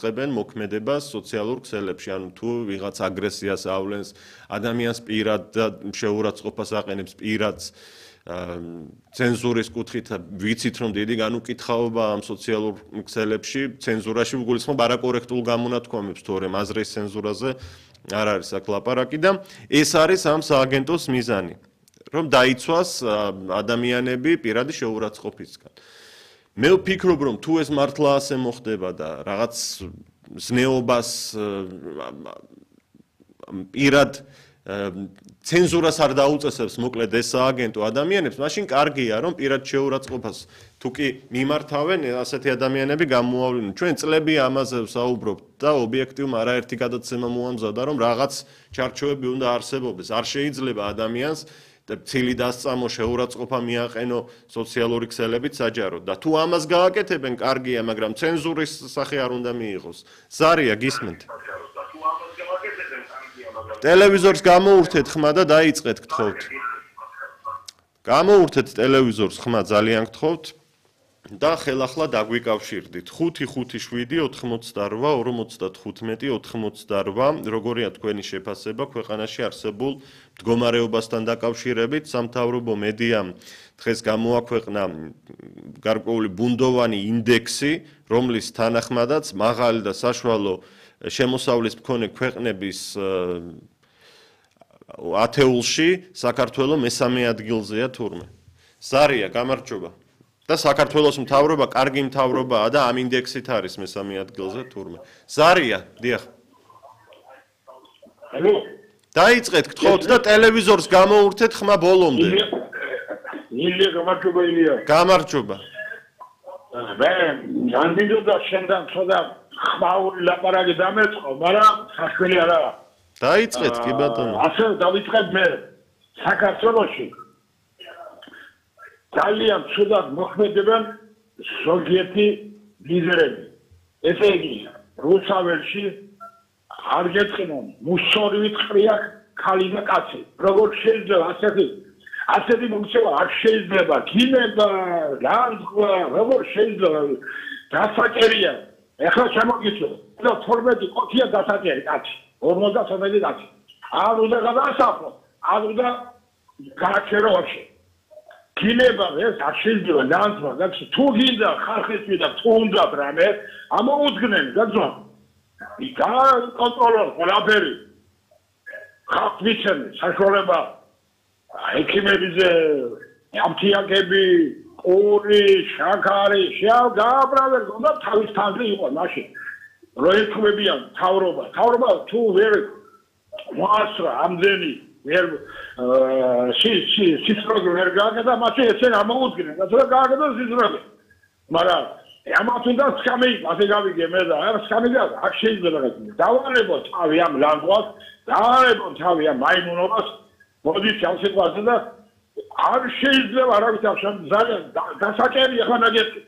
ხებენ მოქმედებას სოციალურ ქსელებში, ანუ თუ ვიღაც აგრესიას ავლენს, ადამიანს პირად და შეურაცხყოფას აყენებს პირად ცენზურის კუთხით ვიცით რომ დიდი განუკითხაობა ამ სოციალურ ქსელებში, ცენზურაში გულისხმობ არაკორექტულ გამონათქვამებს თუ რემ აზრის ცენზურაზე არ არის აქ ლაპარაკი და ეს არის ამ სააგენტოს მიზანი, რომ დაიცვას ადამიანები პირადი შეურაცხყოფისგან. მე ვფიქრობ რომ თუ ეს მართლა ასე მოხდება და რაღაც ზნეობას პირად ცენზურას არ დაუწესებს მოკლედ ეს სააგენტო ადამიანებს, მაშინ კარგია რომ პირად შეურაცხყოფას თუ კი მიმართავენ ასეთი ადამიანები გამოავლინონ. ჩვენ წლები ამაზე ვსაუბრობთ და ობიექტივმა არაერთი გადაცემა მოამზადა რომ რაღაც ჩარჩოები უნდა არსებობდეს. არ შეიძლება ადამიანს ცილი დასწამო შეურაცხყოფა მიაყენო სოციალური ქსელებით საჯაროდ და თუ ამას გააკეთებენ კარგია, მაგრამ ცენზურის სახე არ უნდა მიიღოს. ზარია გისმენთ? ტელევიზორს გამოურთეთ ხმა და დაიწყეთ გთხოვთ. გამოურთეთ ტელევიზორს ხმა ძალიან გთხოვთ და ხელახლა დაგვიკავშირდით. 5-5-7-88-58 როგორია თქვენი შეფასება ქვეყანაში არსებულ მდგომარეობასთან დაკავშირებით? სამთავრობო მედიამ დღეს გამოაქვეყნა გარკვეული ბუნდოვანი ინდექსი, რომლის თანახმადაც მაღალი და საშუალო შემოსავლის მქონე ქვეყნების ათეულში საქართველო მესამე ადგილზეა თურმე. ზარია, გამარჯობა. და საქართველოს მთავრობა კარგი მთავრობაა და ამ ინდექსით არის მესამე ადგილზე თურმე. ზარია, დიახ. დაიწყეთ გთხოვთ და ტელევიზორს გამოურთეთ ხმა ბოლომდე. ილია, გამარჯობა ილია. გამარჯობა. მე ამდენდა შენთან ცოტა ხმაური ლაპარაკი დამეწყო, მაგრამ საშველი არა. დაიწყეთ კი ბატონო. ასე დავიწყებ მე საქართველოში. ძალიან ცუდად მოქმედებენ ზოგიერთი ლიდერები. ესე იგი, რუსაველში არ გეწყინონ, მუსორივით ყრია ქალი და კაცი. როგორ შეიძლება ასეთი მოქცევა არ შეიძლება. გინება, განსხვავება, როგორ შეიძლება დასაჭერია. ეხლა შემოგიწევ, 12 ყოთია დასაჭერი კაცი, 50 კაცი. არ უნდა გადაასახლო, არ უნდა გააჩეროებში. გინება ეს არ შეიძლება განსხვავება, და თუ გინდა ხალხისთვის და თუ უნდა რამე, ამოუდგნენ, გაძვა. კონტროლორ ყველაფერი. ხალხს მიცემენ საშუალება ექიმებზე ამთიაგები, ყური, შაქარი, გააბრალენ და თავის თანზე იყო მაშინ. რო ეთქმებიან თავრობა თუ ვერ მოასწრა ამდენი ვერ სისროგი ვერ გააკეთა, მაშინ ესენ ამოუდგნენ და თუ გააკეთა სისროგი. მაგრამ ამათ უნდა სკამი, ასე გავიგე მე და არ სკამი არ შეიძლება დავარებო თავი ამ ლანგვას, დავარებო თავი ამ მაიმუნობას, მოდი ჩავსიყვაზე და არ შეიძლება არავის აღშან ძალიან დასაჭერია ხან აგეთი.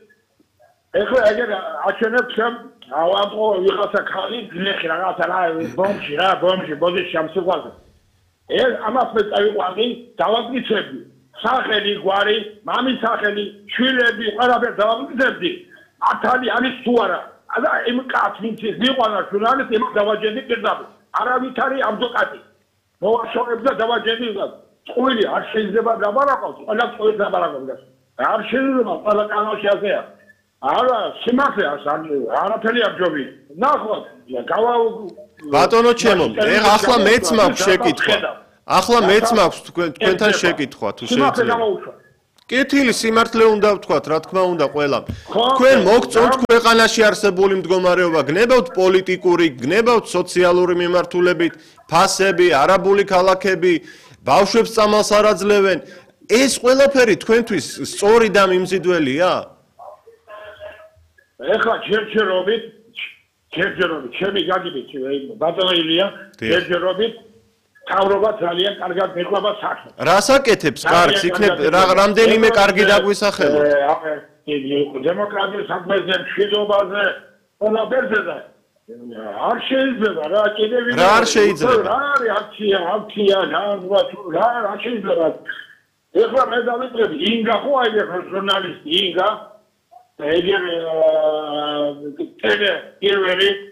ეხლა ეგერ აჩვენებ სამ ავამყო ვიღაცა ხალი გლეხი რაღაცა რა ბომში მოდი ჩავსიყვაზე. ეს ამას მე წავიყვანი დავაგიცები. სახელი, გვარი, მამის სახელი, შვილები, ყველაფერი დავაგიცებდი. ათალი არის თუ არა. და იმ კაც ვინც მიყვანა ჟურნალის იმ დავაჯენდი პირდაპირ. არავითარი ამძოკატი. მოვაშორებ და დავაჯენდი და წყვილი არ შეიძლება დაბარაკოს, ყველა წყვილი დაბარაკოს. არ შეიძლება ყველა კანონში ასეა. არა, სიმართლე არაფერი არ ჯობია. ნახოთ, ბატონო ჩემო, ახლა მეც მაქვს შეკითხვა. ახლა მეც მაქვს თქვენთან შეკითხვა თუ შეიძლება. კეთილი სიმართლე უნდა ვთქვათ, რა თქმა უნდა ყველამ. თქვენ მოგწონთ ქვეყანაში არსებული მდგომარეობა, გნებავთ პოლიტიკური, გნებავთ სოციალური მიმართულებით, ფასები, არაბული ქალაქები, ბავშვებს წამალს არ აძლევენ. ეს ყველაფერი თქვენთვის სწორი და მიმზიდველია? ეხლა ჯერჯერობით, ჩემი გაგიბით, ბატონო ილია, ჯერჯერობით თავრობა ძალიან კარგად მეყვება საქმე. რას აკეთებს კარგს? იქნებ რამდენიმე კარგი დაგვისახელოთ. დემოკრატიის საქმეზე, მშვიდობაზე, ყველაფერზე და არ შეიძლება რა კიდევ რა არ შეიძლება? რა აქცია, რა არ შეიძლება. ეხლა მე დავიწყებ ინგა ხო აი ეხლა ჟურნალისტი ინგა ეგერ პირველი